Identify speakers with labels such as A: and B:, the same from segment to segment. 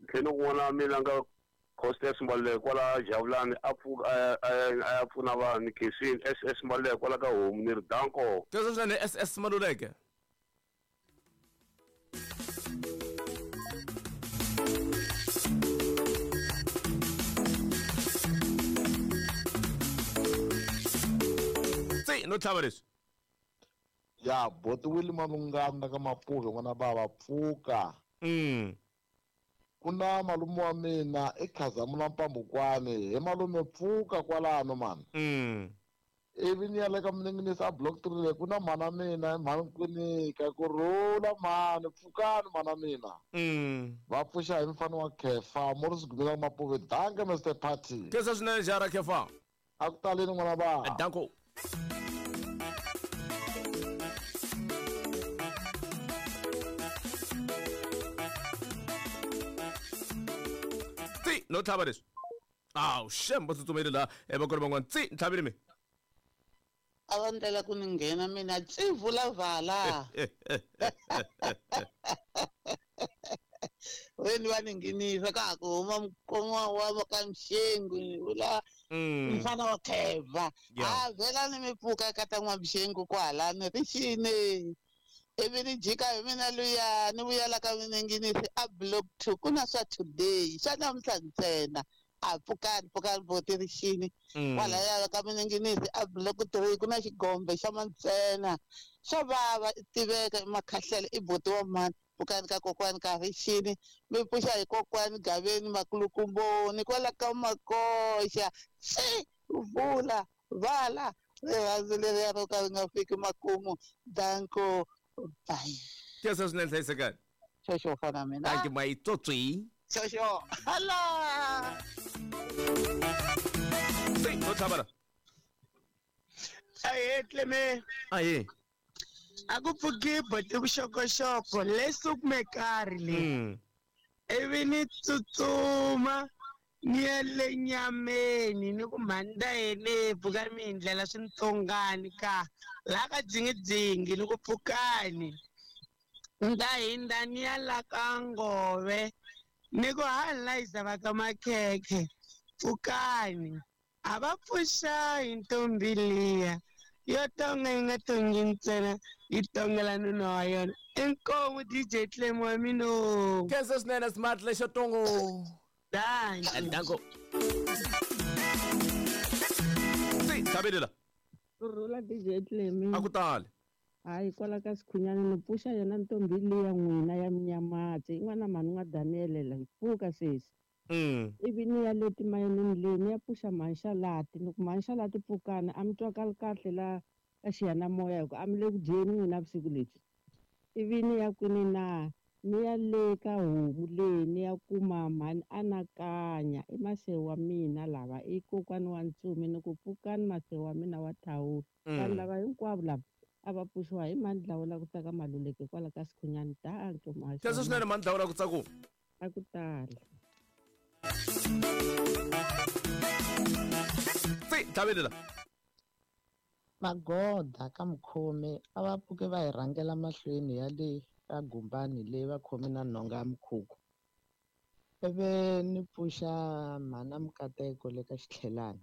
A: Tlhela ku n'wana wa mina nga Costas Mbaluleko kwala Javulani a pfuka a ya pfuna vanhu ni khensini SS Mbaluleko kwala ka homu ni ri danko.
B: Khensa swinene SS Maluleke. Se no tlhava leswi.
C: Ya boti Willie Malungana ka Mapuve n'wana bava pfuka. Ku na malume wa mina i Khazamula Mpambukwani he malume pfuka kwalano mani. Ivi ni ya le ka Mninginisi a block 3 le ku na mhana mina mhani Nkwinika ku rhula mhani pfukani mhana mina. Va pfuxa hi mfana wa Khefa Morris Gumela Mapuve danke Mister Party.
B: Khensa swinene jara Khefa.
C: A ku taleni n'wana va.
B: Danko. Tsi no tlhava leswi. Awu shem va tsutsumele laha va kona van'wana tsi ni tlhavile mi.
D: A va ndlela ku ni nghena mina tsi vula vala. Weni va ni nghenisa ka ha ku huma mukoma wa ka Mxengu ni vula mfana wa Kheva. A vhela ni mi pfuka ka ta n'wa-Mxengu kwalano ri xini. Ivi ni jika hi mina luya ni vuya la ka Mininginisi a block 2 ku na swa today swa namuntlha ntsena. A pfukani pfukani boti ri xini. Kwalaya ka Mininginisi a block 3 ku na xigombe xa mantsena. Swa vava i tiveka i makhahlela i boti wa mhani. Pfukani ka kokwani ka ri xini mi pfuxa hi kokwani Gaveni Makulukumboni kwala ka Makoxa. Tsi vula vala rirhandzu leriya ro ka ri nga fiki makumu. Danko bye.
B: Khensa swinene hlayisekani.
D: Xoxo fana mina.
B: Thank you my tsotsi.
D: Xoxo. Hala.
B: Tsi no tlhava la.
E: Ahee Clement.
B: Ahee.
E: A ku pfuki boti vuxokoxoko leswi kume karhi le. Ivi ni tsutsuma ni ya le nyameni ni ku mhani ta yene pfuka mi hi ndlela swintsongani ka laha ka dzingidzingi ni ku pfukani. Ni ta hindza ni ya la ka ngove ni ku ha layisa va ka makhekhe pfukani. A va pfuxa hi ntombi liya yo tonga yi nga tongi ntsena yi tongela nuna wa yona. Inkomu DJ Clem wa mina.
B: Khensa swinene smart lexo tongo.
E: Danko.
B: Danko. Si, tlhavele la.
F: Ku rhula DJ Clem.
B: A ku tali.
F: Hayi kwala ka Sikhunyana ni pfuxa yona ntombi liya n'wina ya Mnyamatsi. Yin'wana mhani n'wa Daniel la yi pfuka sesi. Ivi ni ya le timayinini leyi ni ya pfuxa mhanxalati ni ku mhanxalati pfukani a mi twakali kahle la ka xiyanimoya hi ku a mi le ku dyeni n'wina vusiku lebyi. Ivi ni ya kwini na ni ya le ka homu leyi ni ya kuma mhani anakanya i masewu wa mina lava i kokwani wa ntsumi ni ku pfukani masewu wa mina wa thawula. Vanhu lava hinkwavo lava a va pfuxiwa hi mhani Dlawula ku ta ka Maluleke kwala ka Sikhunyani danke muhaxi.
B: Khensa swinene mhani Dlawula ku tsaku.
F: A ku tala.
B: Tsi tlhavele la.
G: Magoda ka mukhomi a va pfuke va hi rhangela mahlweni ya le ka gumbani leyi va khome na nhonga ya mukhukhu. Ivi ni pfuxa mhana Mukateko le ka xitlhelani.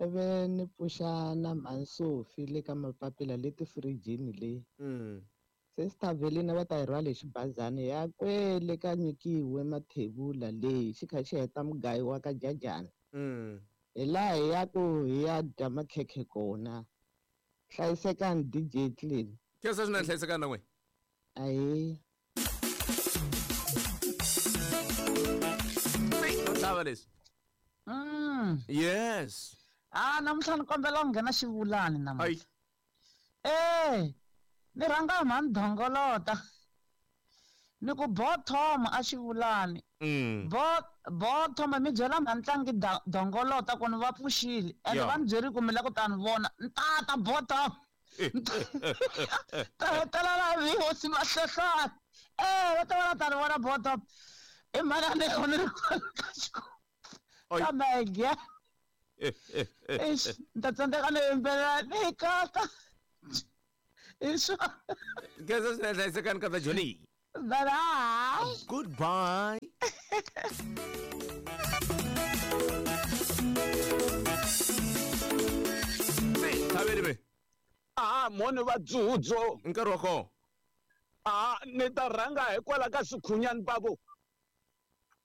G: Ivi ni pfuxa na mhani Sophie le ka mapapila le tifirijini le. Sister Velina va ta hi rhwala hi xibazana ya kwele ka nyikiwe mathebula leyi xi kha xi heta mugayo wa ka jajana. Hi laha hi ya ku hi ya dya makhekhe kona. Hlayisekani DJ Clean.
B: Khensa swinene hlayisekani na n'wina.
G: Ahee.
B: Tlhava leswi. Yes.
H: Ah, namuntlha ni kombela ku nghena xivulani namuntlha. Ni rhanga mhani Dongolota. Ni ku bottom a xivulani. Bottom mi byela mhani Tlangi Dongolota ku ni va pfuxile. Ende va ni byerile ku mi la ku ta ni vona. Ni tata bottom. Ta hetelela vi hosi Mahlohlwana. Va ta va la ta ni vona bottom. I mhani a ni ni ri kwala ka xikolo. Kambe again. Eish, ni ta tsandzeka ni yimbelela ni kata. Hi swona.
B: Khensa swinene hlayisekani kata Johnny.
E: Bye-bye.
B: Goodbye. Thabele be.
I: A moni va dzudzo.
B: Nkarhi wa kona.
I: A ni ta rhanga hikwalaho ka Sikhunyani babo.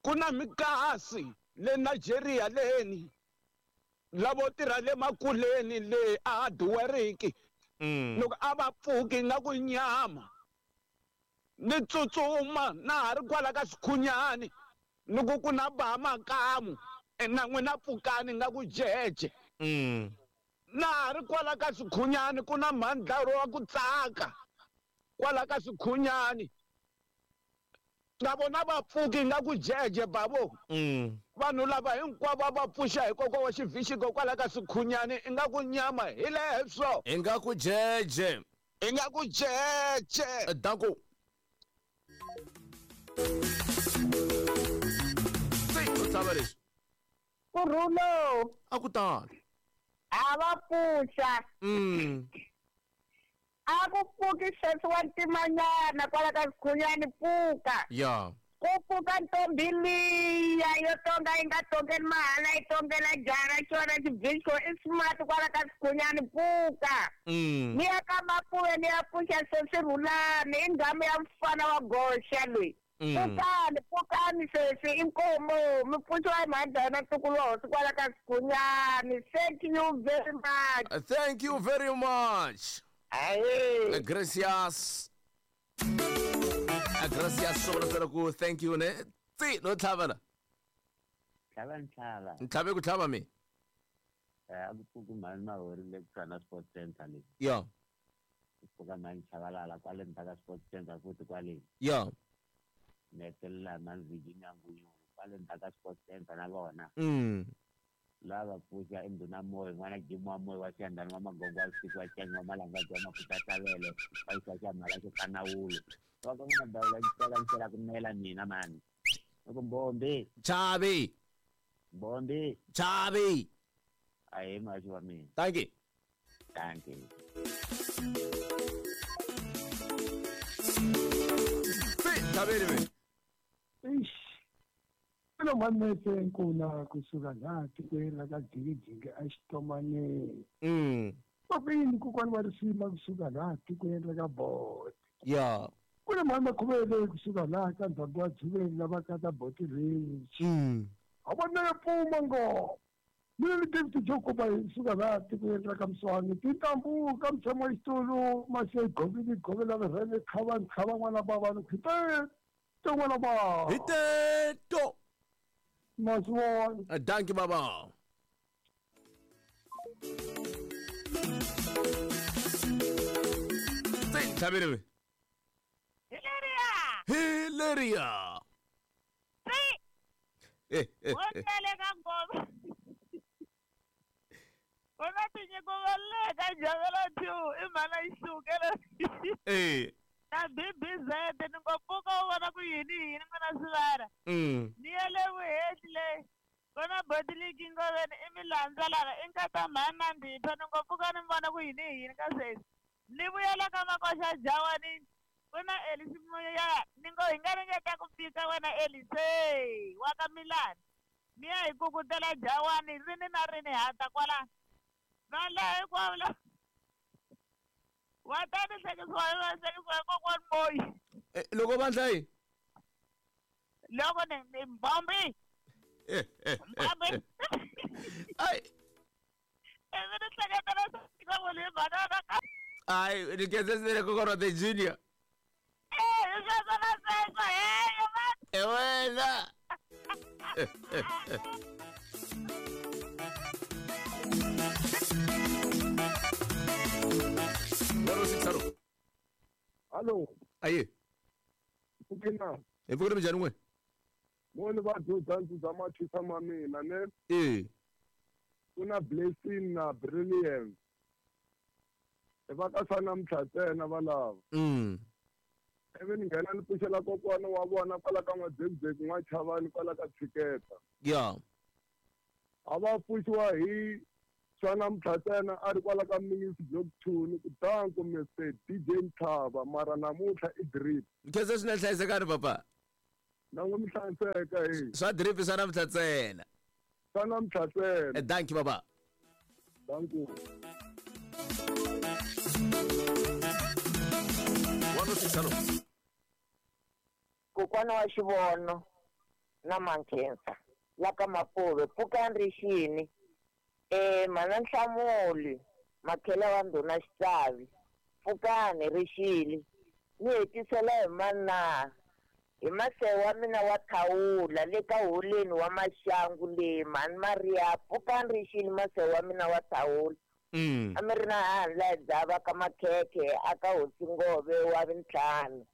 I: Ku na mikasi le Nigeria leni. Lavo tirha le makuleni le a duweriki. Loko a va pfuki nga ku nyama. Ni tsutsuma na ha ri kwala ka Sikhunyani. Loko ku na ba makamu na n'wina pfukani nga ku jeje. Na ha ri kwala ka Sikhunyani ku na mhandlaro wa ku tsaka. Kwala ka Sikhunyani. Na vona va pfuki nga ku jeje babo. Vanhu lava hinkwavo va pfuxa hi kokwa wa xivhixiko kwala ka Sikhunyani i nga ku nyama hi leswo.
B: I nga ku jeje.
I: I nga ku jeje.
B: Danko.
J: Kurhulo.
B: A ku tano.
J: A va pfuxa. A ku pfuki sweswi wa ntimanyana kwala ka Sikhunyani pfuka.
B: Ya.
J: Ku pfuka ntombi liya yo tonga yi nga tongeli mahala yi tongela jara xona xibixo i smart kwala ka Sikhunyani pfuka. Ni ya ka Mapuwe ni ya pfuxa sweswi Rhulani i nghamu ya mfana wa goxa loyi. Pfukani pfukani sweswi i nkomo mi pfuxiwa hi mhadana ntukulu wa hosi kwala ka Sikhunyani. Thank you very much.
B: Thank you very much.
J: Aye.
B: Gracias. Gracias sobre ku thank you ne. Tsi no tlhavela.
K: Tlhava ntlhava.
B: Ntlhave ku tlhava mi.
K: A ku pfuki mhani Mahori le kusuhana Sports Center le.
B: Ya.
K: Ku pfuka mhani Chabalala kwale ndzhaku ka Sports Center futhi kwale.
B: Ya.
K: Ni hetelela mhani Virginia Nguyulu kwale ndzhaku ka Sports Center na vona. Lava pfuxa i ndhuna Moyo n'wana Jim wa Moyo wa Xiyandani wa Magongo wa Vusiku wa Canyi wa Malangadzi wa Mafuta Tlavele wa yisa xa mhala xo kanawulo. Va ka n'wina dawula yi teka yi hlwela ku nela mina mani. Loko Mbombi.
B: Chavi.
K: Mbombi.
B: Chavi.
K: Ahe mhaxi wa mina.
B: Thank you.
K: Thank you.
B: Thabele me.
L: Eish. Kulo manete nkuna kusuka la tikweni la ka Jikijiki eXitomaneni. Papini kokwani wa risima kusuka la tikweni la ka Boti.
B: Ya.
L: Kule mhani Makhuvele kusuka la ka ndhawu wa Dzuveni lava ka ta Boti Ridge. A vona ya pfuma ngo. Mina ni David Jokoba kusuka la tikweni la ka Mswani. Tintambu ka mtshamo wa xitulu mase govini govela virhele khava nkhava n'wana bava ni khite n'wana bava.
B: Hiteto.
L: Maswona.
B: Thank you baba. Thabele.
J: Hileria.
B: Hileria.
J: Si. Wonele ka ngoma. Wona tinyiko va le ka Javela 2 i mhana yi xukela. Na BBZ ni ngo pfuka u vona ku yini yini n'wana sivara. Ni ya le vuhehli le. Kona boti leyi ngoveni i milandza lana i nkata mhani na ndipha ni ngo pfuka ni vona ku yini yini ka sweswi. Ni vuyela ka Makoxa Jawani ku na Elisi Moya ni ngo hi nga ringeta ku fika wena Elise wa ka Milani. Ni ya hi kukutela Jawani rini na rini hata kwala. Va la hinkwavo la. Wa ta ni hlekisiwa hi va hlekisiwa hi kokwani Moyi.
B: Loko vandla yi.
J: Loko ni Mbombi. Mbombi.
B: Ai.
J: Ivi ni hleketela swa ku ni mhaka ka.
B: Ai, ni kenzesele kokoro the junior.
J: Hi sweswo na sweswo heyo man.
B: Wena.
A: Hallo.
B: Aye.
A: Pfukina.
B: Hi pfukile minjhani n'we?
A: Moni va dzudza ndzudza mathisa ma mina ne. Ku na Blessing na Brilliant. Va ka swa namuntlha ntsena va lava. Ivi ni nghena ni pfuxela kokwana wa vona kwala ka N'wa-Dzekdzek N'wa-Chavani kwala ka Tshiketa.
B: Ya.
A: A va pfuxiwa hi Swa namuntlha ntsena a ri kwala ka Mingis Block 2 ni ku danko Mr DJ Ntlhava mara namuntlha i drip.
B: Nkhensa swinene hlayisekani papa.
A: Na n'wi mi hlayiseka he.
B: Swa drip swa namuntlha ntsena.
A: Swa namuntlha ntsena.
B: Dankie baba.
A: Danko.
B: 106 hello.
M: Kokwana wa xivono na Mankhensa la ka Mapuve pfukani rixini mana Nhlamuli makhela wa ndhuna Xitsavi pfukani rixile ni hetisela hi mana hi masewa wa mina wa thawula le ka holeni wa maxangu le mhani Maria pfukani rixile masewa wa mina wa thawula. A mi ri na handla dzava ka makhekhe aka hosi Ngove wa vintlhanu.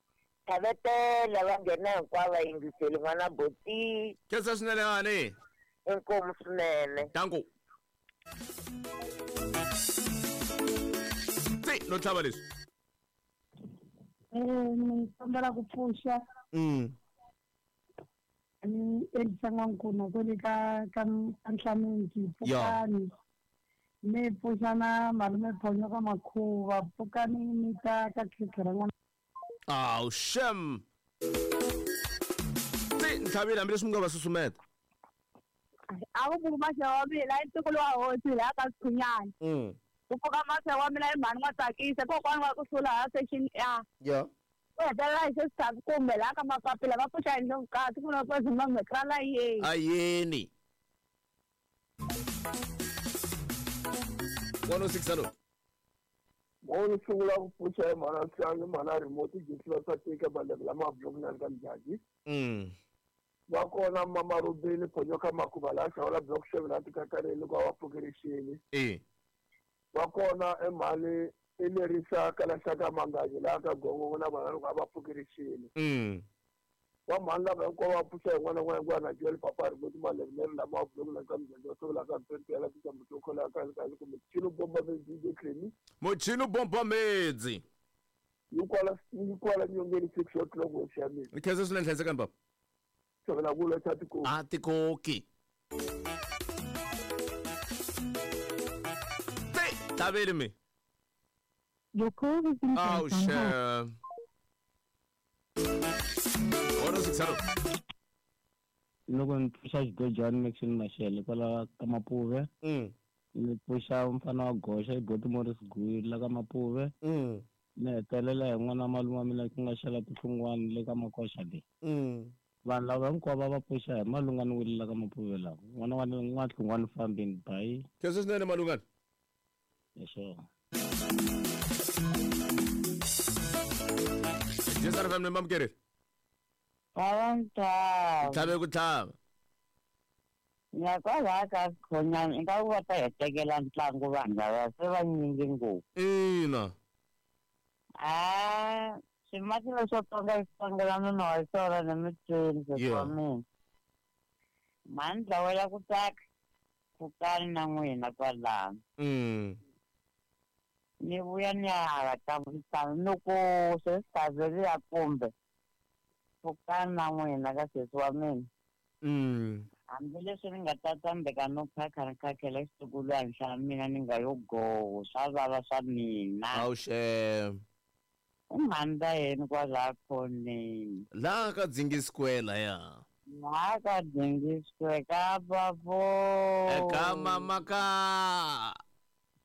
M: Tlhavetela va nghena hinkwavo va yingiseli n'wana boti.
B: Khensa swinene hani.
M: Inkomu swinene.
B: Danko. Tsi no tlhava leswi.
N: Ni kombela ku pfuxa. Ni endlisa n'wankuna kwale ka ka Nhlaminti pfukani. Ni pfuxa na malume Phonyo ka Makhuva pfukani ni ta ka khekhe ra n'wana.
B: Aw shem. Tsi ntlhavile hambileswi mi nga va susumeta.
J: A ku pfuka maxewa wa mina i ntukulu wa hosi laha ka Sikhunyana. Ku pfuka maxewa wa mina i mhani n'wa tsakisa kokwana wa ku hlula ha section A.
B: Yeah.
J: Ku hetelela hi xesithathu kumbe laha ka mapapila va pfuxa hi ndlopfukati ku na ku Zimbabwe ra yeni.
B: Ayeni. 106 hello.
A: Mo ni sungula ku pfuxa hi mhana Siangi mhana remote jesi va tika malembe lama block na ka Mjaji. Va kona mama Rubini Phonyo ka Makhuva la xawula block 7 la tikakareli kwa va pfukerixini. Va kona emhani Elerisa kala xaka Mangaji la ka Gongongo na vana loko va pfukerixini. Wa mhani lava hinkwavo va pfuxa hi n'wana n'wana na Joel Papa remote malembe lama block na ka Mjaji wa sungula ka Mpempela ku tamba to khola ka ka kumbe Chino Bomba DJ Clemi.
B: Mochino Bomba Medzi.
A: Yi kwala nyongeni 6 o'clock wa xamini.
B: Khensa swinene hlayisekani baba.
A: Xavela ku la tikoki.
B: A tikoki. Tsi tlhaveli mi.
N: Your call has been
B: Oh
N: placed on hold.
B: shem. 106 hello.
G: Loko ni pfuxa xigojani Maxine Mashele kwala ka Mapuve. Ni pfuxa mfana wa Goxa i Boti Morris Gui la ka Mapuve. Ni hetelela hi n'wana malume wa mina ku nga xela tihlungwana le ka Makoxa le. Vanhu lava hinkwavo va pfuxa hi Malungani Wile la ka Mapuve lawa. N'wana wa N'wahlungwani fambini bayi.
B: Khensa swinene Malungani.
G: Leswo.
B: Jesa FM ni mamukeri.
K: Tlhava.
B: Tlhave ku tlhava.
K: Nyakwalaha ka Sikhunyana ingaku va ta hi tekela ntlangu vanhu lava se vanyingi ngopfu.
B: Ina.
K: Swimaki leswo tsonga i tsongela nuna wa xona ni mitweni sesi wa mina. Mhani dlawela ku tsaka pfukani na n'wina kwalano. Ni vuya ni ya hala ka vuhlanu ni ku sesi Thaveliya kumbe pfukani na n'wina ka sesi wa mina. Hambileswi ni nga ta tsandzeka no phakha ni khakhela xitukulwana xa mina ni nga yo goho swa vava swa mina.
B: Awu xem.
K: I mhani ta yini kwalaha khoneni.
B: Laha ka Dzingi Square laya.
K: Laha ka Dzingi Square ka bavo.
B: Eka mama ka.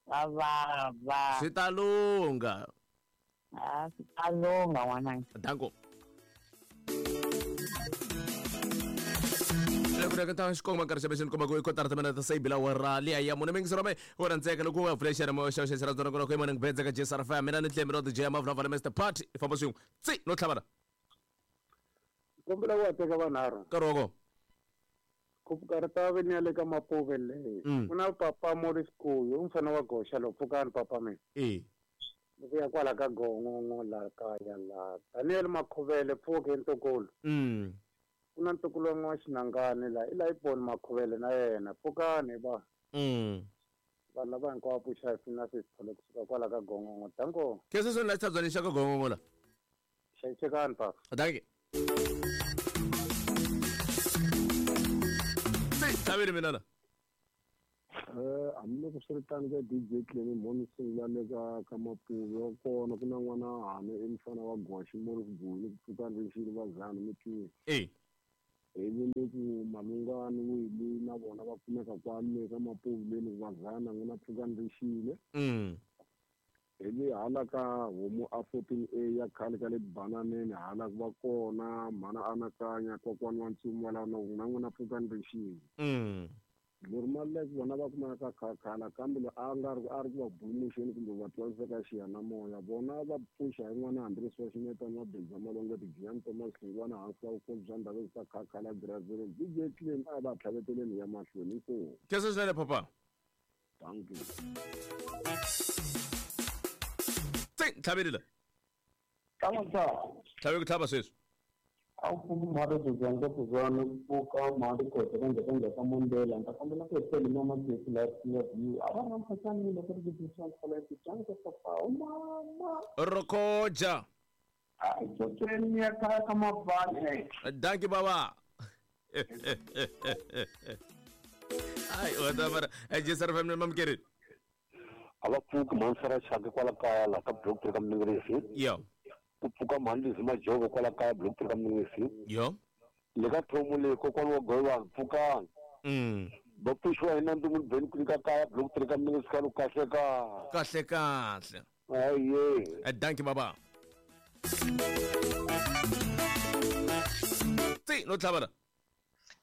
K: Ka vava.
B: Swi ta lungha.
K: A swi ta lungha n'wananga.
B: Danko. Loko ta xikomba nkarhi xebe xini komba ku i kotara timina ta seibila wa ra liya ya mune mingisero me wo rhandzeka loko u nga pfule xiyani mo xa xa ra ku morning beds ka JSR FM mina ni Tlemi ro DJ Mavula Vala Mr Party i famba swin'we tsi no tlhavana.
A: Kombela ku teka vanharhu.
B: Nkarhi wa kona.
A: Ku pfuka ri ta ve ni ya le ka Mapuve le. Ku na papa Morris Kuyo mfana wa Goxa lo pfukani papa mina. Ni ku ya kwala ka Gongongo la kaya la Daniel Makhuvele pfuke ntukulu. Ku na ntukulu wa n'wa Xinangani la i la i Boni Makhuvele na yena pfukani va. Vanhu lava hinkwavo pfuxa hi na sesithole kusuka kwala ka Gongongo. Danko.
B: Khensa swinene la xitshabyani xa ka Gongongo la.
A: Hlayisekani papa.
B: Dankie. Tsi tlhaveli mina la.
A: Hambiloko swi ri tano ka DJ Clem mhoni sungula le ka Mapuve wa kona ku na n'wana hane i mfana wa Goshi Morris Guni ku pfuka rixini va zana mi twi. Ivi ni ku Malungani Wili na vona va kumeka kwale ka Mapuve leni va zana n'wina pfukani rixile. Ivi hala ka homu a 14A ya khale ka le bananeni hala ku va kona mhana anakanya kokwani wa ntsumi wa laha na n'wina pfukani rixile. Lori vona va kumeka ka khakhala kambe loyi a nga ri a ri ku va bulumuxeni kumbe va twarisa ka xiyanimoya vona va pfuxa hi n'wana hambileswi wa xinetana wa Benza Malonga Tijiani Thomas Hlungwana hansi ka vukhosi bya ndhavuko ta khakhala Grazelo DJ Clem a va tlhaveteleni ya mahlweni inkomu.
B: Khensa swinene papa.
A: Thank you.
B: Tsi tlhavelela. Tlhave ku tlhava sweswi.
A: A wu pfuki mhaka byo kuzana ku pfuka mhaka kote ka njhaka njhaka Mondela ni ta kombela ku hetela mama Jesi la love you a va ri na mphasani loko ri ku swa la ku papa o mama
B: Rokoja.
A: A tsotweni ya kaya ka mabani.
B: Dankie baba. Ai wata mara Jesi FM mamkeri.
C: A va pfuki mhani Chaka kwala kaya la ka block 3 ka Mningrisi.
B: Yo.
C: Ku pfuka mhani Lizzy Majoko kwala kaya block 3 ka Mningrisi.
B: Yo.
C: Le ka thomo le kokwani wa Goyiwani pfukani. Va pfuxiwa hi Nandzu Beni ku nyika kaya block 3 ka Mningrisi ka kahle ka.
B: Kahle kahle.
C: Aye.
B: Dankie baba. Tsi no tlhavela.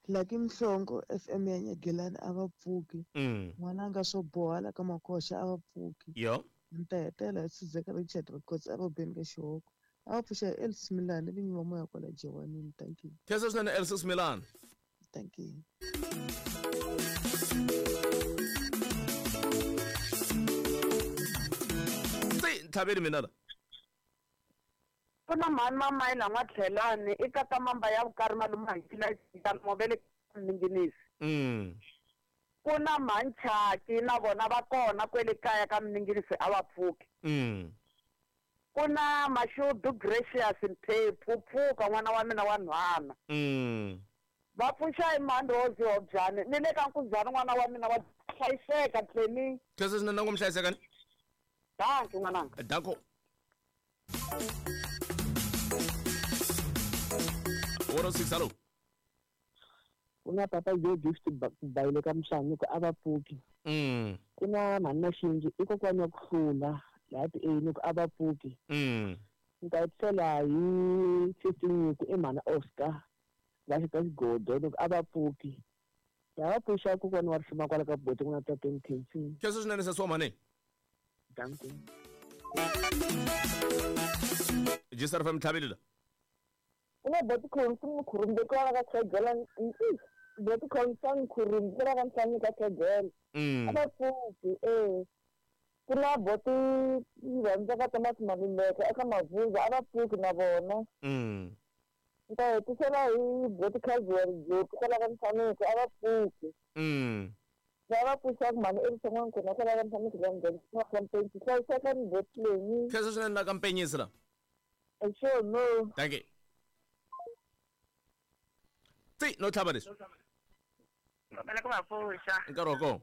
O: Lucky Mhlongo FM ya Nyagelani a va pfuki. N'wananga swo boha la ka Makoxa a va pfuki.
B: Yo.
O: Ni ta hetela hi Sizeka Richard Records a va beni ka Xihoko. A va pfuxa Elsie Milani vinyi va moya kwala Jewanini. Thank you.
B: Khensa swinene Elsie Milani.
O: Thank you.
B: Tsi ntlhaveli mina la.
P: Ku na mhani Mamayila N'watlhelani i kata mamba ya vukari malume Hankila Movele Mninginisi. Ku na mhani Chaki na vona va kona kwele kaya ka Mninginisi a va pfuki. Ku na Mashudu Gracious Mphephu pfuka n'wana wa mina wa nhwana. Va pfuxa hi mhani Rose Hobyani ni le ka Nkuzani n'wana wa mina wa hlayiseka Tlemi.
B: Khensa swinene na ku hlayiseka ni.
P: Dankie n'wananga.
B: Danko. 106 hello.
Q: Ku na papa Joe Gift Bayile ka Mhlanga ku a va pfuki. Ku na mhani Maxinji i kokwani wa ku hlula laha ti A ku a va pfuki. Ni ta hetisela hi 15 ku i mhani Oscar va xita xigodo loko a va pfuki. Lava pfuxa kokwani wa rifuma kwala ka boti ku na tateni Khensi.
B: Khensa swinene sesi wa mhani.
Q: Dankie.
B: Jisar FM tlhavelela.
R: Ku na boti Khonsi Mkhurumbe kwala ka Khegela boti Khonsi Mkhurumbe kwala ka Nhlanu ka Khegela. A va pfuki Ku na boti rhandza ka Thomas Maluleke eka Mavuza a va pfuki na vona. Ni ta hetisela hi boti Casual Joti kwala ka Nhlanuko a va pfuki. Va pfuxa mhani Elisa N'wankuna kwala ka Nhlanuko la Mdletshe ka Mpensi hlayiseka ni boti leyi.
B: Khensa swinene la ka Mpenyisi la.
R: Sure no.
B: Thank you. Tsi no tlhava leswi.
S: Kombela ku va pfuxa.
B: Nkarhi wa kona.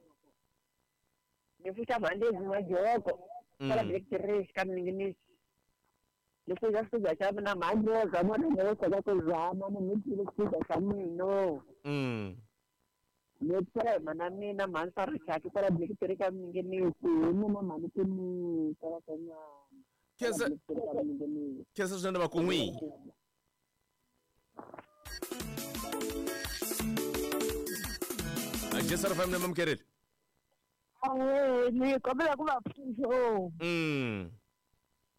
S: Ni pfuxa mhani Lizzy Majoko kwala Black Tree ka Mninginisi. Ni pfuxa xipfuxa xa mina mhani Rosa mona ni kota ku zama ni mi twile xipfuxa xa mina. Ni pfuxa hi mhana mina mhani Sarachaki kwala Black Tree ka Mninginisi hi mina mhani Timita kwala ka nyama.
B: Khensa swinene va ku n'wi. Jesi FM na mamkereli.
T: Ni kombela ku va pfuxa.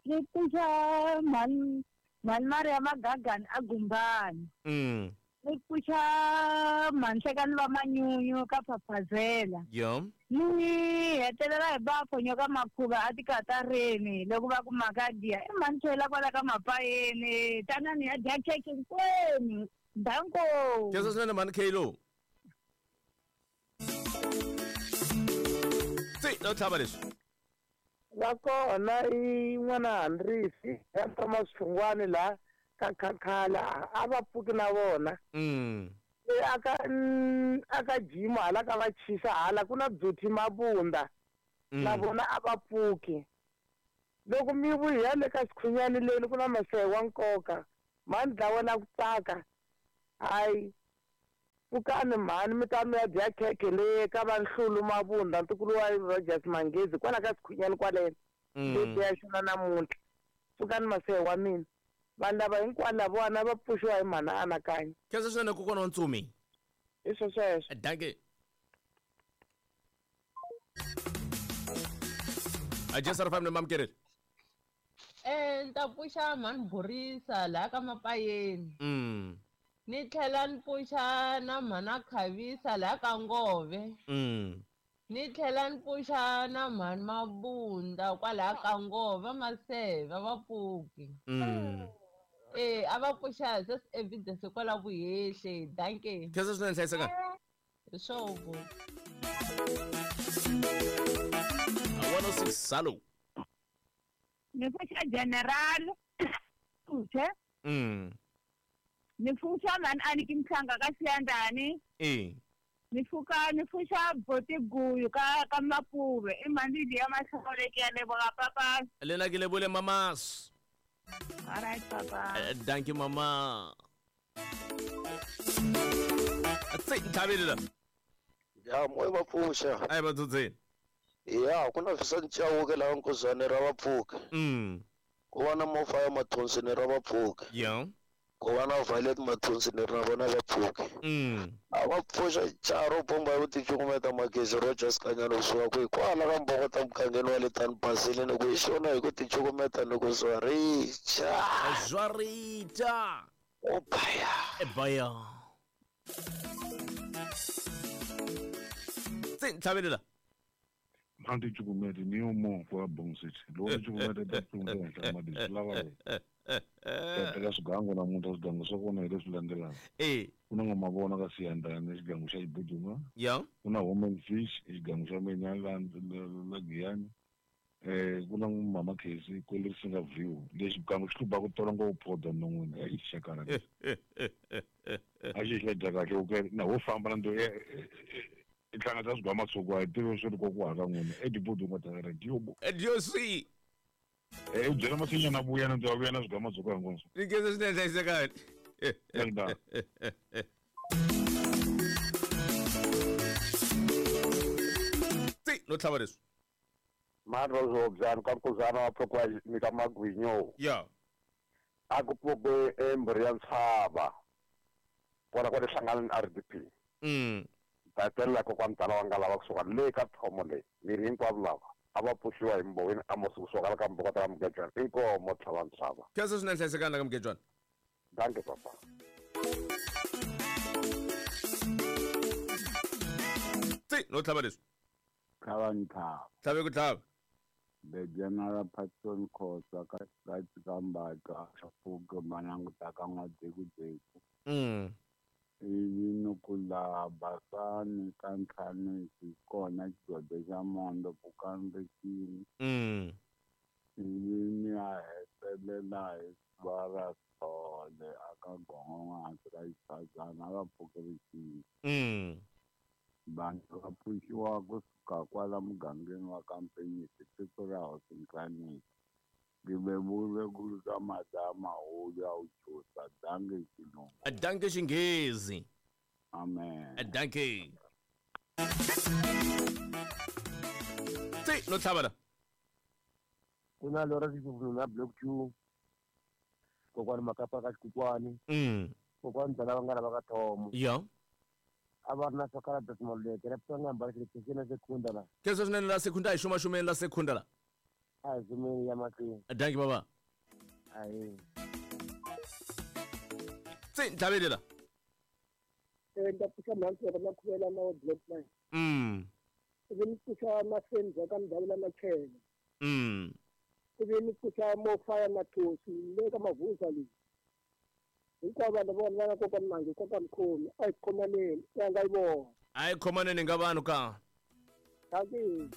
T: Ni pfuxa mhani Maria Magagani a Gumbani. Ni pfuxa mhani Hlekani va Manyunyu ka Phaphazela.
B: Yo.
T: Ni hetelela hi va Phonyo ka Makhuva a tikatareni loko va ku makadiya i mhani Chela kwala ka Mapayeni tanani ya dya khekhe hinkwenu. Danko.
B: Khensa swinene mhani Khelo. Tsi no tlhava leswi.
U: Va kona i n'wana Handrisi ya Thomas Hlungwani la ka Khakhala a va pfuki na vona. aka aka jimu hala ka va chisa hala ku na Beauty Mabunda. Na vona a va pfuki. Loko mi vuya le ka Sikhunyani leni ku na masehe wa nkoka. Mhani dlawa na ku tsaka. Hayi. Pfukani mhani mi ta mi ya dya khekhe le ka va Nhlulu Mabunda ntukulu wa Rogers Mangezi kwala ka Sikhunyani kwaleno. Leyi ya xona namuntlha. Pfukani masehe wa mina. Vanhu lava hinkwavo lavawani va pfuxiwa hi mhana Anakanya.
B: Khensa swinene kokwana wa Ntsumi.
U: Hi swo sweswo.
B: Dankie. Ajesa ri family mamkereri.
D: Ni ta pfuxa mhani Borisa laha ka Mapayeni. Ni tlhela ni pfuxa na mhana Khavisa laha ka Ngove. Ni tlhela ni pfuxa na mhani Mabunda kwalaha ka Ngove, Maseve va pfuki. A va pfuxa just evidence kwala Vuhehle. Dankie.
B: Khensa swinene hlayiseka.
D: Hi swovo.
B: 106 salo.
T: Ni pfuxa General Uche. Ni pfuxa mhani Aniki Mhlanga ka Xiyandani. Ni pfuxa Botiguyu ka Mapuve. I mhani liya Mahlawuleki ya leboga papa.
B: Le na ke lebole mamas.
T: All right papa.
B: Thank you mama. Tse ntlhabele.
V: Ya moyo va pfuxa.
B: Ai va dzudzeni.
V: Ya ku na fisa Nchauke laha Nkuzane ra va pfuka. Ku va na Mofaya Mathonsini ra va pfuka.
B: Ya.
V: Ku va na Violet Mathonsini ra vona va pfuka. A va pfuxa Charo bomba yo ticukumeta magezi Rogers Kanyana kusuka kwihi kwala ka Mbokota mugangeni wa le Tani Basile ni ku hi xona hi ku ticukumeta ni ku zwaricha.
B: Zwaricha.
V: O baya.
B: E baya. Tse ntlhabelela.
W: Mhandi cukumete ni yo mo kwa Bong City. Loko cukumete ta pfunga madi lava le. Teka swigangu namuntlha swigangu swa kona hi leswi landzelaka. Ku na N'wamavona ka Siyandhani xigangu xa Xibuduma.
B: Ya.
W: Ku na Home and Fish xigangu xa mina la Giyani. Ku na Mama Khesi kwele Risinga View. Lexi xigangu xi hlupha ku tola ngopfu phoda non'wini i xakala lexi. A xi xi dya kahle u na ho famba na ndo i hlangana swigwama tshuku a hi tivi swi ri kokwala ka n'wina eDibudunga ta radio.
B: Diosi.
W: U byela masinyana a vuya na ndo a vuya na swigwama tshuku hinkwaswo.
B: Ni khensa swinene hlayisekani. Tsi no tlhava leswi.
C: Mani Rozobyani ka Nkuzana wa pfukiwa nyika magwinyo.
B: Ya.
C: A ku pfuke emburi ya ntshava. Kona kwale hlangana na RDP. Tatelela kokwani tala wa nga lava kusuka le ka thomo leyi miri hinkwavo lava a va pfuxiwa hi Mboweni Amos kusuka la ka Mbokota ka Mugejwana inkomo tlhava ntshava.
B: Khensa swinene hlayisekani la ka Mugejwana.
C: Dankie papa.
B: Tsi no tlhava leswi.
K: Tlhava ntlhava.
B: Tlhave ku tlhava.
K: The General Patson Khosa ka ka Mbatha pfuke malanguta ka N'wadekudeku. Ivi ni ku laha Basani ka Ntlhanisi kona xigodo xa Mondo pfukani rixini. Ivi ni ya hetelela hi siva ra Sithole aka Gongon'wansi ka Xitshazana a va pfuki rixini. Vanhu va pfuxiwa kusuka kwala mugangeni wa ka Mpenyisi tiko ra Hosi Nhlanisi. Ngivevule ku ka madama hulu ya uchusa danke xilungu.
B: Danke xinghezi.
K: Amen.
B: Danke. Tsi no tlhava la.
X: Ku na Lora Xivununa Block 2. Kokwani Makapa ka Xikukwani. Kokwani Dala va nga lava ka Thomo.
B: Ya.
X: A va ri na swakala bya Maluleke ra pfanga mbala xi na sekunda la.
B: Khensa swinene la sekunda hi xumaxumeni la sekunda la.
X: A hi ya mahlweni.
B: Dankie baba.
X: Ayi.
B: Tsi ntlhabelela.
Y: Ni ta pfuxa mhani na khuvela na wa Block 9. Ivi ni pfuxa Masenza ka Mdavula Machele. Ivi ni pfuxa Mofaya Mathosi le ka Mavuza leyi. Hinkwavo vanhu vona va nga kokwani Mangi kokwani Mkhomi a hi khomaneni ya nga yi vona.
B: A hi khomaneni nga vanhu ka.
Y: Dankie.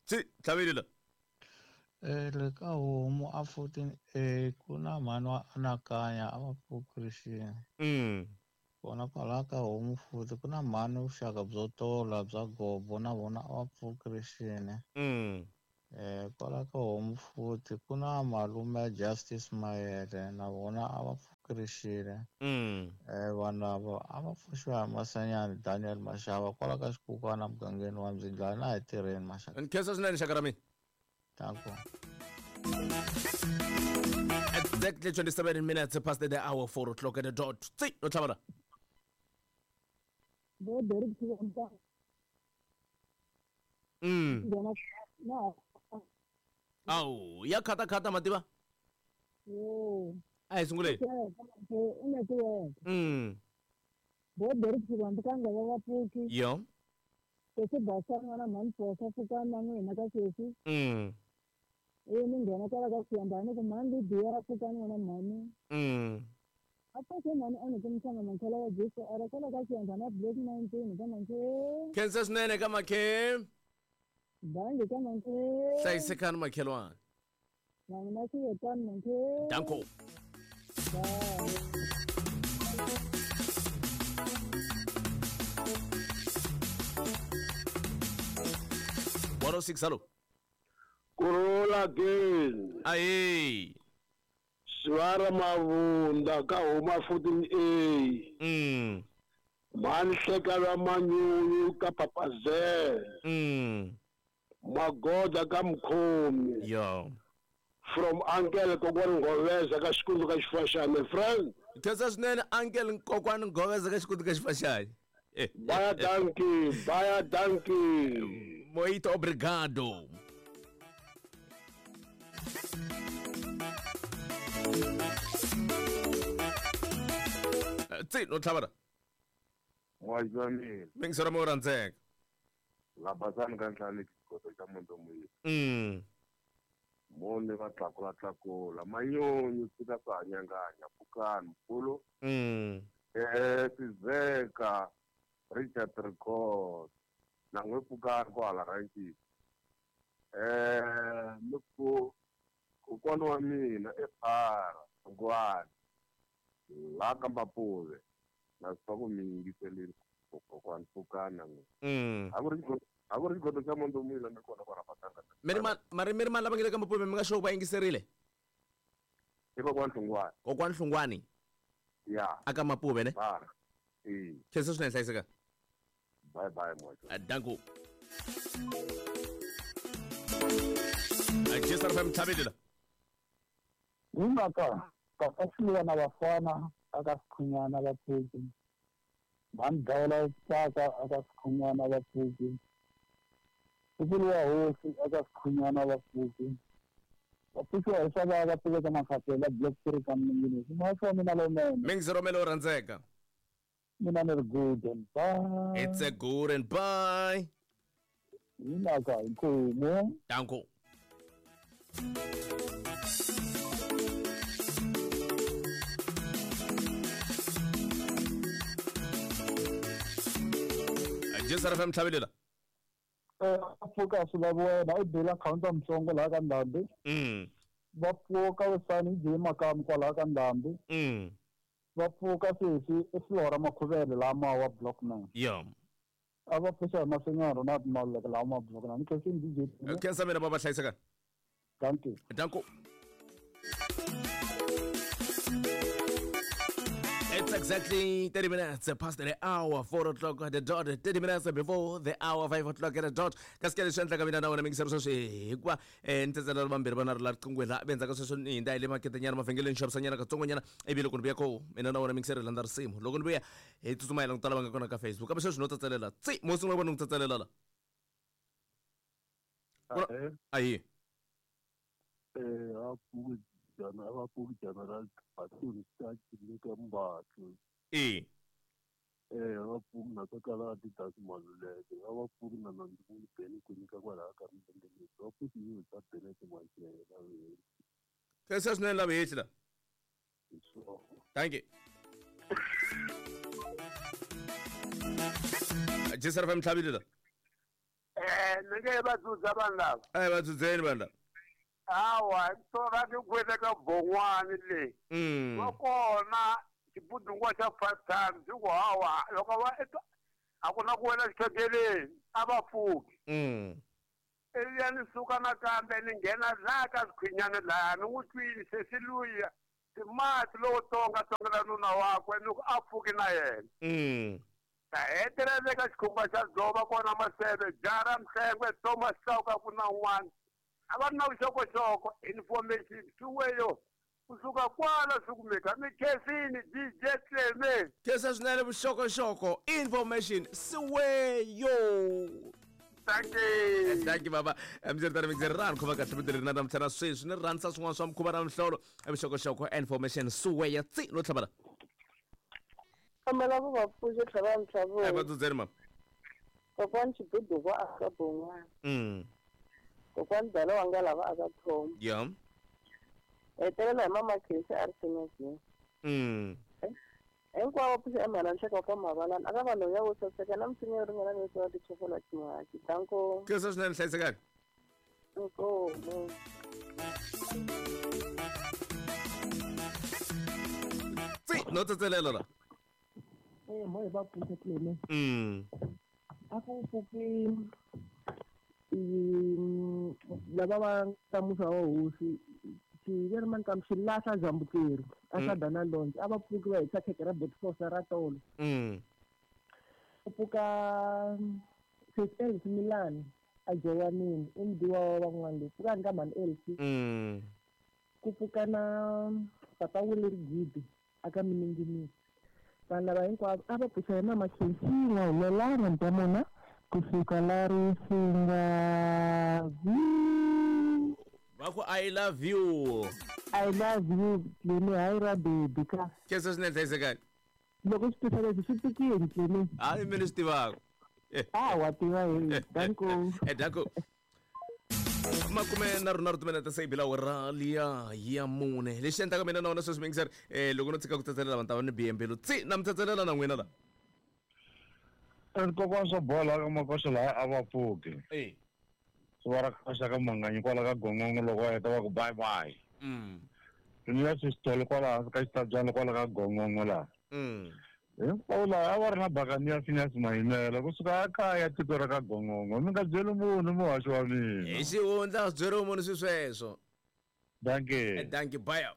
B: Tsi tlhavelela.
E: Le ka homu a 14A ku na mhani wa anakanya a va pfuki rixini. Kona kwalaho ka homu futhi ku na mhani vuxaka byo tola bya gobo na vona a va pfuki rixini. Kwala ka homu futhi ku na malume Justice Mayele na vona a va pfuki rixini. Vanhu lava a va pfuxiwa hi Masanyani Daniel Mashava kwala ka xikukwana mugangeni wa Mzindlwana na hi tirheni maxaka.
B: Nkhensa swinene xaka ra mina.
E: Danko.
B: Exactly 27 minutes past the hour, 4 o'clock at the dot. Tsi, no tlhavana.
F: Bo Derek Chivampa.
B: Awu, ya khata khata mativa.
F: Yo.
B: A hi sunguleni.
F: Bo Derek Chivampa ka nga va pfuki.
B: Yo.
F: Sesi basa n'wana mhani posa pfukani na n'wina ka sesi. Ni nghena kwala ka xiyambani ku mhani Lidiya pfukani n'wana mhani. A pfuke mhani a ni mhlanga mankhela wa Jesu ara kwala ka xiyambani a block 19 ka mankhe.
B: Khensa swinene ka makhe.
F: Bangi ka mankhe.
B: Hlayisekani makhelwani.
F: Na mina swi yetani mankhe.
B: Danko.
F: Bye.
B: One oh six, hello.
H: Kurula again.
B: Aye.
H: Swara mavunda ka huma 14A. Manhleka la manyunyu ka Papazela. Magoda ka Mkhomi.
B: Yo.
H: From Uncle Kokwani Ngoveza ka Xikundu ka Xifaxane, friend.
B: Khensa swinene Uncle Kokwani Ngoveza ka Xikundu ka Xifaxane.
H: Baya dankie, baya dankie.
B: Muito obrigado. Tsi, no tlhavana.
A: Wajamile.
B: Mingisera mo rhandzeka.
A: Labasani ka ntlhanu xikoto xa Mondomuyi. Mone va tlakula tlakula manyunyu tshika swa hanyanganya pfukani mkhulu. Sizeka Richard Record na n'we pfukani kwala ranchini. Ni ku kokwana wa mina ephara Ngwani la ka Mapuve na swi ku mi yingiselile kokwani pfukani na n'we. A ku ri xigodo xa Mondomuyi la mi kona kwala Patanga.
B: Mari mi ri mani lava nge le ka Mapuve mi nga sure va yingiserile?
A: I kokwani Hlungwani.
B: Kokwani Hlungwani?
A: Ya.
B: Aka Mapuve ne? Khensa swinene hlayiseka.
A: Bye bye moja.
B: Danko. Jésar FM tlhavelela.
I: Hi mhaka papa Siluwa na vafana aka Sikhunyana va pfuki. Mhani Dawula Tsaka aka Sikhunyana va pfuki. Nkulu wa hosi aka Sikhunyana va pfuki. Va pfukiwa hi swa va pfuleka makhatela block 3 ka Mninginisi. Maso wa mina lowunene.
B: Mingiziromelo rhandzeka.
I: Mina ni ri good and bye.
B: It's a good and bye.
I: Hi mhaka inkomu.
B: Danko. Jésar FM tlhavelela.
I: Va pfuka swi lavi wena u bela counter Mtsongo laha ka Ndhambi. Va pfuka Wisani J Makamu kwalaha ka Ndhambi. Va pfuka sesi i Flora Makhuvele laha wa block 9.
B: Yo.
I: A va pfuxa hi Masenyana Ronald Maluleke laha ma block 9. Khensa DJ.
B: Khensa mina baba hlayiseka.
I: Thank you.
B: Danko. It's exactly 30 minutes past the hour, 4 o'clock at the dot, 30 minutes before the hour, 5 o'clock at the dot. Kasi leswi endlaka mina na wena mingisero sweswi hikuva ni tsetselela vambirhi va na ri la riqingweni laha endzhaku ka sweswo ni hindza hi le maketenyana mavhengeleni xavisanyana katsongonyana ivi loko ni vuya ko mina na wena mingisero hi landza risimu loko ni vuya hi tsutsuma hi languta lava nga kona ka Facebook kambe sweswi no tsetselela tsi mo sungula vona ni ku tsetselela la ahi
A: General Patun ka Mbatlo. Va pfuki na ka kala Adidas Maluleke, va pfuki na Nandzu Beni ku nyika kwalaha ka Mbendeleni, va pfuki yi ta Benet Mwanchela.
B: Khensa swinene lava hehli la. Thank you. Jésar FM tlhavelela.
H: Ni nge va dzudza vanhu lava.
B: Va dzudzeni vanhu lava.
G: Hawa tora ni kwele ka bon'wani le. Va kona xibudungwa xa 5 times ku hawa loko va a ku na ku wela xikhokeleni a va pfuki. Ivi ya ni suka nakambe ni nghena laha ka swikhwinyana laha ni n'wi twile sesi luya timati lowo tonga tongela nuna wakwe ni ku a pfuki na yena. Ta hetelela eka xikhumba xa dzoba kona Maseve Jara Mhlengwe Thomas Chauke ku na un'wana a va ri na vuxokoxoko information swiweyo kusuka kwala swi kumeka mi khensini DJ Cleme.
B: Khensa swinene vuxokoxoko information siweyo.
G: Thank you.
B: Thank you baba. Mdzi ri rani khoma kahle vito leri na namuntlha na sweswi ni rhandza swin'wana swa mukhuva na mihlolo vuxokoxoko information siweya tsi no tlhavela.
R: Kombela ku va pfuxa tlhava ntlhavo.
B: Ai va dzudzeni mama.
R: Kokwani Xibudu va aka bon'wana. Kokwani Dala wa nga lava aka Thoma.
B: Yeah.
R: Hetelela hi mama Khesi a ri Senyazini. Hinkwavo pfuxa emhana nhleka ka mavalana aka vanhu ya wo saseka na misinya yo ringana ni wa tichofola tin'waki. Danko.
B: Khensa swinene hlayisekani.
R: Inkomu.
B: Tsi no tsetselela la.
Q: Mo va pfuxa Cleme. A ku pfuki lava va ta musa wa hosi xiveri mani kambe xi lahla Zambukeri a sa dana lonje a va pfuki va hisa khekhe ra Botfosa ra tolo. Ku pfuka St Elsie Milan a Jowanini i mudiwa wa van'wana loyi pfukani ka mhani Elsie. Ku pfuka na papa Willie Gidi aka Mininginisi. Vanhu lava hinkwavo a va pfuxa hi mama Khensini humelana ntamona kusuka la risinga
B: va ku I love you.
Q: I love you Cleme hayi ra baby ka.
B: Khensa swinene hlayisekani.
Q: Loko swi tisa leswi swi tikile Cleme.
B: Hayi mina swi tivaka.
Q: A wa tiva hi danko.
B: Danko. Makume na rona ri timinete se yi awara liya ya mune lexi endlaka mina na wona sweswi mingiseri loko no tshika ku tsetselela vanhu ta va ni bihe mbilu tsi na mi tsetselela na n'wina la.
W: Kokwana swa bola ka makoxa laha a va pfuki. Swi va ra koxa ka manganyi kwala ka gongongo loko va heta va ku bye bye. Ni ya xisitolo kwala hansi ka xitabyana kwala ka gongongo laha. Hinkwavo laha a va ri na bakani ya Phineas Mayimela kusuka a kaya tiko ra ka gongongo mi nga byeli munhu muhaxi wa mina.
B: Hi xihundla swi byeriwi munhu swi sweswo.
W: Dankie.
B: Dankie bye.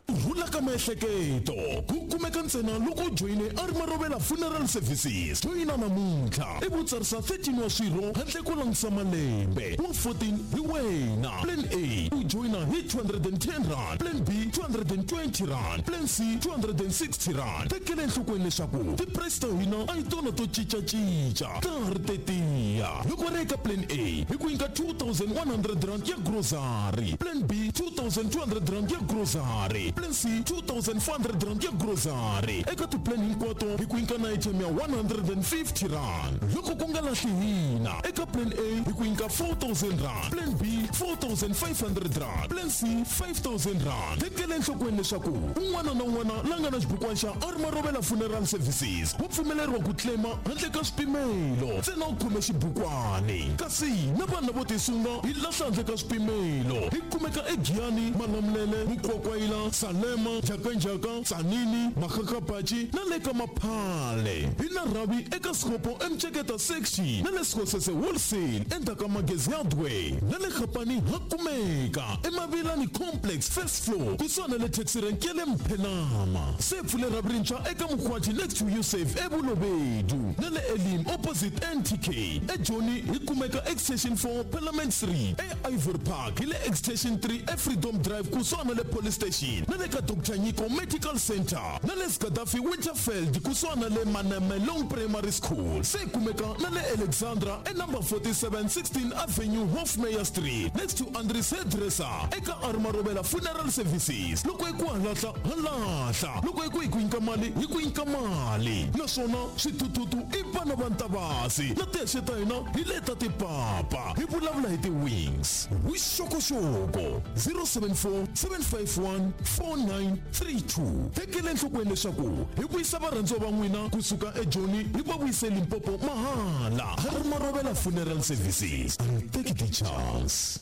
J: Rhula ka miehleketo ku kumeka ntsena loko u joyine a ri Marovela Funeral Services. Joyina namuntlha i vutsarisa 13 wa swirho handle ko langutisa malembe wa 14 hi wena. Plan A u joyina hi 210 rand, Plan B 220 rand, Plan C 260 rand. Tekela enhlokweni leswaku ti-price ta hina a hi tona to cincacinca ta ha ri tetiya. Loko ri eka Plan A hi ku nyika 2100 rand ya grocery, Plan B 2200 rand ya grocery, Plan C 2400 rand ya grocery. Eka ti-plan hinkwato hi ku nyika na item ya 150 rand. Loko ku nga lahli hina eka Plan A hi ku nyika 4000 rand, Plan B 4500 rand, Plan C 5000 rand. Tekela enhlokweni leswaku un'wana na un'wana la nga na xibukwana xa a ri Marovela Funeral Services wa pfumeleriwa ku claima handle ka swipimelo ntsena u khome xibukwani. Kasi na vanhu lavo tisunga hi lahla handle ka swipimelo. Hi kumeka eGiyani, Malamulele, Mukwakwayila, Salema, Njhakanjhaka, Tsanini, Makgakgapachi na le ka Maphale. Hi na rhavi eka Sikopo eMceketa 60 na le Sikosese Wholesale endzhaku ka Magezi Hardware na le Gapani ha kumeka eMavilani Complex first floor kusuhana na le taxi rank ya le Mphenama. Se pfule rhavi rintshwa eka Mukhwati next to Usave eBulobedu na le Elim opposite NTK. eJoni hi kumeka Extension 4 Parliament 3 e Ivory Park hi le Extension 3 eFreedom Drive kusuhana na le Police Station na le ka Dr Nyiko Medical Center na le Gaddafi Winterfeld kusuhana na le Manamelong Primary School. Se kumeka na le Alexandra e number 4716 Avenue Hofmeyr Street next to Andries Hairdresser eka Armarovela Funeral Services. Loko hi ku halahla halahla, loko hi ku hi ku nyika mali hi ku nyika mali. Naswona swithuthuthu i vana va Ntavasi na tihexe ta hina hi leta tipapa. Hi vulavula hi ti-wings. Vuxokoxoko 074 751 49 32 Tekela enhlokweni leswaku hi vuyisa varhandziwa va n'wina kusuka eJoni hi va vuyise Limpopo mahala. Harry Marobela Funeral Services. And take the chance.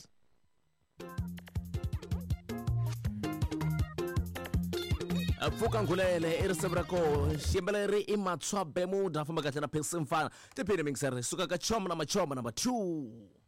B: Pfuka Ngulele i risimu ra koho xiyimbeleri i Matshwa Bemuda famba kahle na Phesi Mfana tiphini mingiseri suka ka Choma na Machoma number 2.